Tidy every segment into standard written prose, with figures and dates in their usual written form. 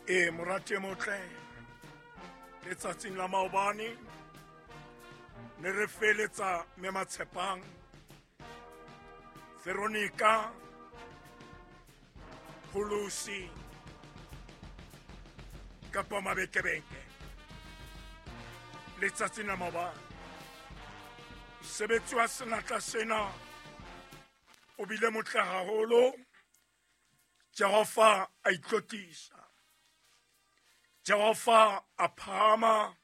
Ee, morati e motle, letsatsing la maobane ne re feletsa mme Matshepang Veronica Pholosi kapa Mabekebeke. Letsatsing la maobane mosebetsi wa senatla sena o bile motle haholo. Jehova a itlotlisa, Jehova a phahama,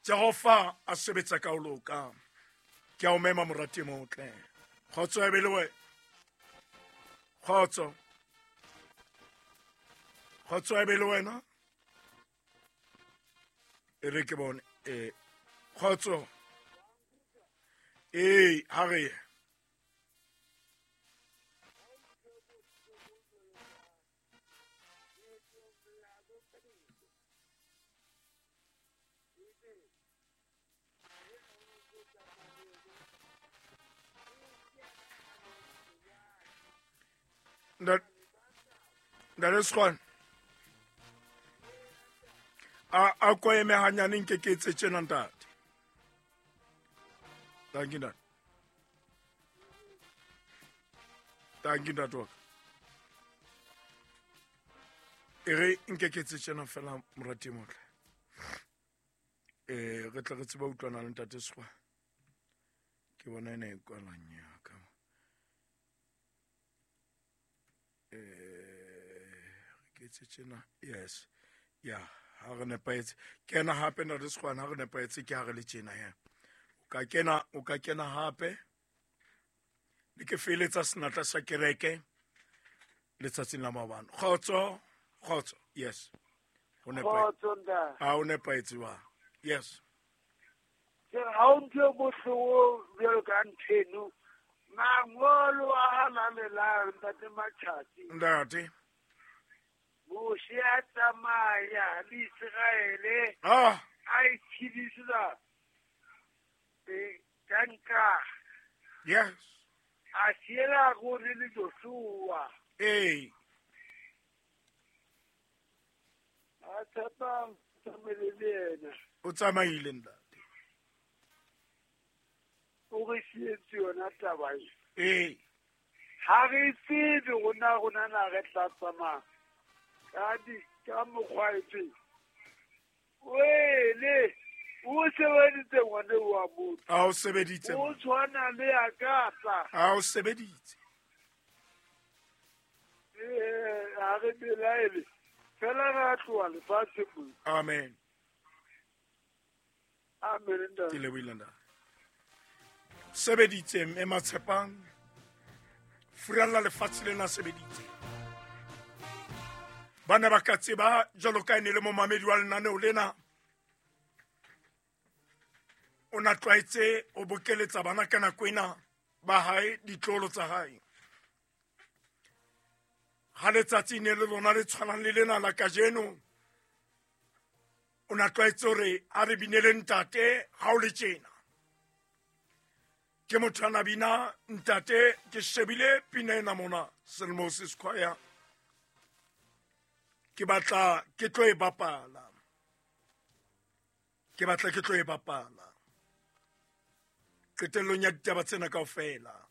Jehova a sebetsa ka ho loka. Ke a o mema, morati e motle. Kgotso e be le wena. Kgotso, kgotso e be le wena. E re ke bone. Kgotso. Ee, ha re ye. Ntate Sekgwane, a ko eme hanyane, nke ke etse tjena, ntate. Thank you, ntate. Thank you, ntate wa ka. E re nke ke etse tjena fela, morati e motle. Re tle re tsebe utlwana le ntate Sekgwane. Ke bona ena e kwalang yaka. Re ke etse tjena. Yes. Ya, ha re nepahetse. Kena hape, ntate Sekgwane, ha re nepahetse ke ha re le tjena he. O ka kena, o ka kena hape. Le ke feletsa senatla sa kereke letsatsing la maobane. Kgotso, kgotso. Yes. O nepahetse. Kgotso, ntate. A o nepahetse wa. Yes. Ke re ha o ntho e bohloko bjalo ka ntheno. Mangolo a halalelang, ntate Matjhatsi. Ntate. Moshe a tsamaya le Iseraele. A itshedisa ka nka. Yes. A siela gore le Joshua. Ee. A tshepa tsamaile le yena. O tsamaile, ntate. O re sietse yona taba e. Ee. Ha re tsebe rona na re tla tsamaya ka di ka mokgwa efe. Wele o sebeditse ngwane wa motho. A o sebeditse. O tshwana le ya ka tla. A o sebeditse. Ha re belaele. Fela re a tloha lefatshe mo. Amen. Amen, ntate. Ke lebohile, ntate. Sebeditse mme Matshepang. Furalla lefatshe lena sebeditse. Ba ne ba ka tseba jwalo ka e ne le momamedi wa lenaneo lena. O na tlwaetse o bokeletsa bana ka nako ena ba hae, ditlolo tsa hae. Ha letsatsi ne le lona le tshwanang le lena la kajeno, o na tlwaetse hore a re binele ntate ha o le tjena. Ke motho a na bina ntate, ke shebile pina ena mona, Selmosis Choir. Ke batla ke tlo e bapala. Ke batla ke tlo e bapala. Qetellong ya ditaba tsena kaofela.